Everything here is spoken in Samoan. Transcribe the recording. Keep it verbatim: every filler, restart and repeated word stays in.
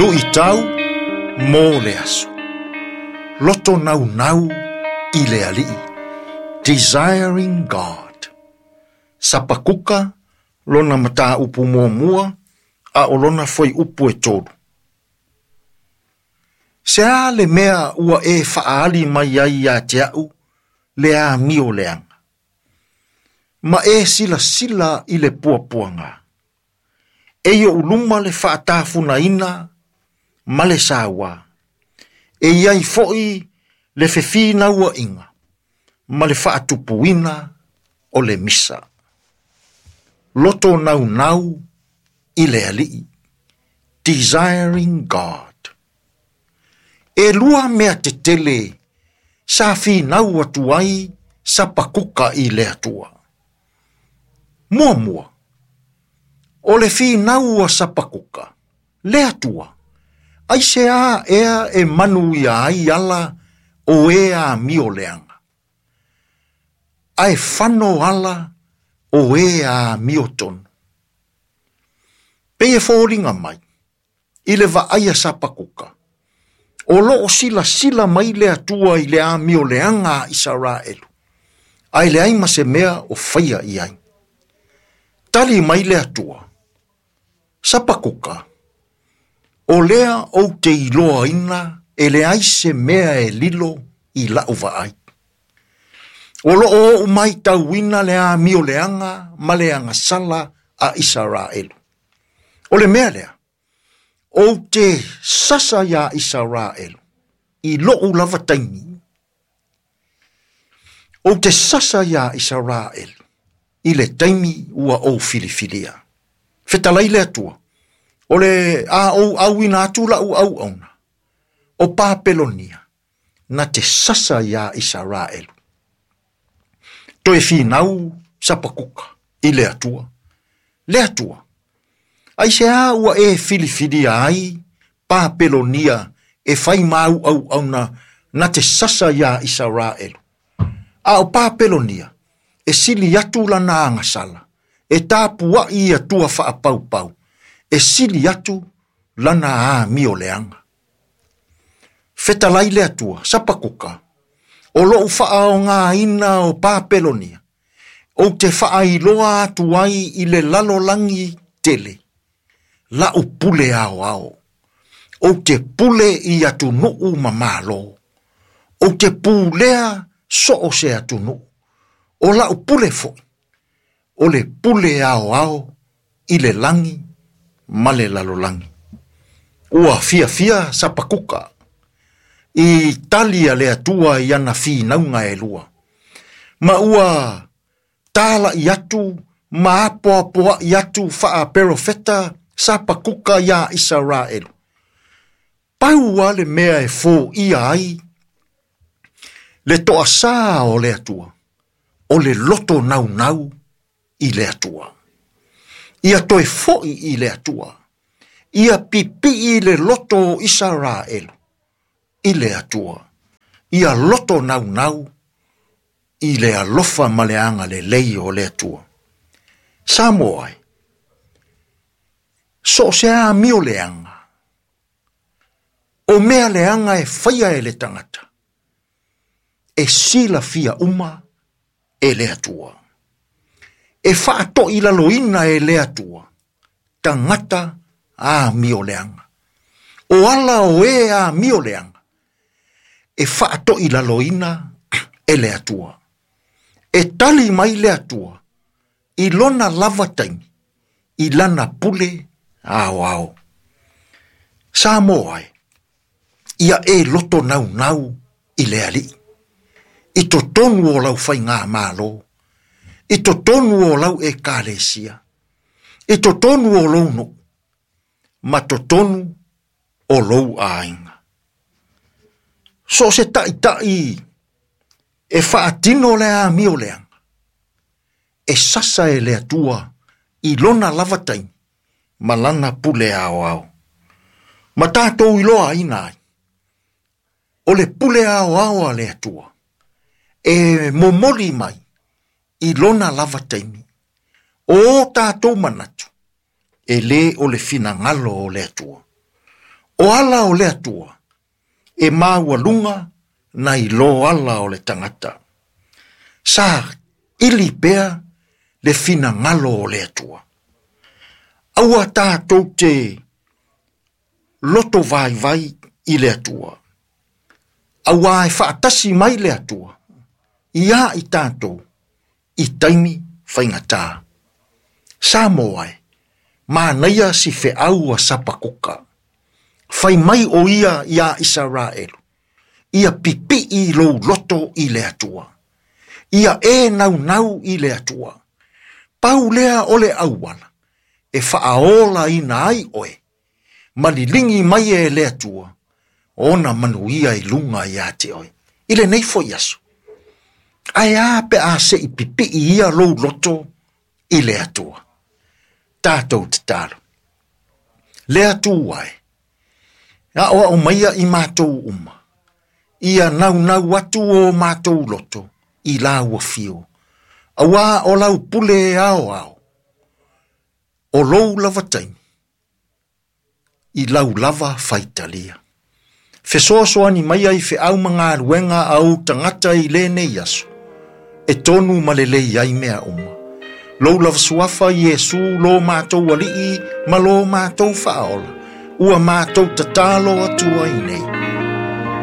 Luʻitau mo le aso. Loto naunau i le Alii. Desiring God. Sapakuka lona mataupu muamua a o lona fuaiupu e tolu. Se a le mea ua e faaali mai ai ia te au le amio leaga. Ma e silasila i le puapuaga. E i ou luma le faatafunaina ma le saua. E iai foi le fefinauaiga ma le faatupuina o le misa. Loto naunau i le Alii. Desiring God. E lua mea tetele sa finau atu ai Sapakuka i le Atua. Muamua, o le finau a Sapakuka, le Atua, aisea ea e manuia ai ala o e amio leaga. Ae fano ala o e amio tonu. Pei e foliga mai, i le vaai a Sapakuka, o loo silasila mai le Atua i le amio leaga a Isaraelu, ae leai ma se mea o faia i ai. Tali mai le Atua, Sapakuka, o lea ou te iloaina e leai se mea e lilo i lau vaai. O loo ou maitauina le amio leaga ma le agasala a Isaraelu. O le mea lea, ou te sasa ia Isaraelu i lou lava taimi. Ou te sasa ia Isaraelu i le taimi ua ou filifilia. Fetalai le Atua, o le a ou auina atu lau auauna, o Papelonia, na te sasa ia Isaraelu. Toe finau Sapakuka i le Atua. Le Atua, aisea ua e filifilia ai Papelonia e fai mau auauna na te sasa ia Isaraelu. A o Papelonia, e sili atu lana agasala, e tapuai i Atua faapaupau, e sili atu lana amio leaga. Fetalai le Atua, Sapakuka, o lou faaogaina o Papelonia, ou te faailoa atu ai i le lalolagi tele, lau pule aoao, ou te pule i atunuu ma malo, ou te pulea so o se atunuu, o lau pule foi, o le pule aoao i le lagi ma le lalolagi. Ua fiafia Sapakuka i tali a le Atua i ana finauga e lua. Ma ua talai atu ma apoapoai atu faaperofeta Sapakuka ia Isaraelu. Pau a le mea e foia ai le toasā o le Atua, o le loto naunau i le Atua. Ia toe foi i le Atua, ia pipii le loto o Isaraelu i le Atua, ia loto naunau i le alofa ma le agalelei o le Atua. Samoa ai, so o se amio leaga, o mea leaga e faia e le tagata, e silafia uma e le Atua. E faatoilaloina e le Atua, tagata amio leaga. O ala o e amio leaga, e faatoilaloina e le Atua. E tali mai le Atua, i lona lava taimi, i lana pule aoao. Samoa ai, ia e loto naunau i le Alii. I totonu o lau faigamalo, i totonu o lau ekalesia, i totonu o lou nuu, ma totonu o lou aiga. So o se taitai e faatino le amio leaga, e sasa e le Atua i lona lava taimi ma lana pule aoao. Ma tatou iloaina ai, o le pule aoao a le Atua, e momoli mai i lona lava taimi. O tatou manatu, e lē o le finagalo o le Atua. O ala o le Atua, e maualuga nai lo ala o le tagata. Sa ili pea le finagalo o le Atua. Aua tatou te loto vaivai i le Atua. Aua e faatasi mai le Atua, ia i tatou, i taimi faigata. Samoa e, manaia si feau a Sapakuka. Fai mai o ia ia Isaraelu, ia pipii lou loto i le Atua. Ia e naunau i le Atua. Pau lea o le auala, e faaola ina ai oe, malilingi mai e le Atua, ona manuia i luga ia te oe. I lenei foi aso. Ae a pe a se i pipii ia lou loto i le Atua. Tatou tatalo. Le Atua e, aoao maia i matou uma, ia naunau atu o matou loto i lau afio. Aua o lau pule ao ao, o lou lava taimi, i lau lava faitalia. Fesoasoani mai ai feau ma galuega a ou tagata i lenei aso, e tonu ma lelei ai mea uma. Lou lava suafa Iesu lo matou alii ma lo matou faaola, ua matou tatalo atu ai nei.